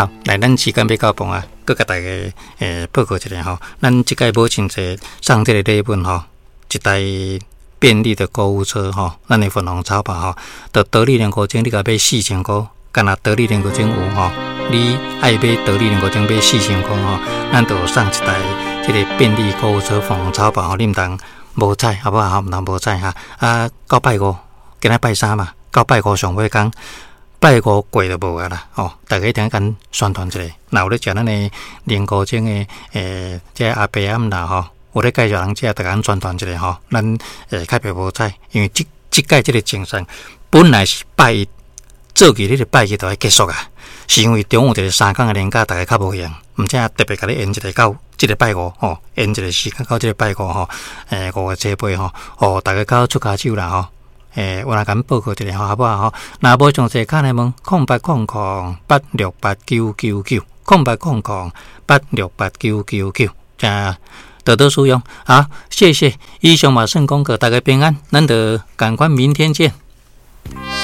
好，來，咱時間欲到半啊，閣共大家報告一下吼。咱這擺母親節送這个禮物吼，一台便利的購物車吼，咱的粉紅草吧吼，就得力連國精，你共買4000箍，干焦得力連國精有吼，你愛買得力連國精買四千箍吼，咱就送一台這个便利購物車粉紅草吧吼，你毋通無彩，好無好？毋通無彩哈。啊，到拜五，今仔拜三嘛，到拜五上尾工。拜五過就無啊啦，吼！大家一定共宣傳一下。若有咧食咱的靈菇精的，這阿伯阿姆啦吼，有咧介紹人食，逐共宣傳一下吼。咱較袂無彩，因為這這擺這个精神本來是拜一做起，彼个拜一就愛結束啊。是因為中有一个3工的連假，大家較無閒，毋知特別共你延一个到這个拜五吼，延一个時間到這个拜五吼，5月初8吼，予大家較好出跤手啦吼。我來共報告一下吼，好無好？若無詳細敲來問，0800868999，0800868999，請多多使用。好，謝謝。以上嘛算廣告，大家平安，咱就趕快明天見。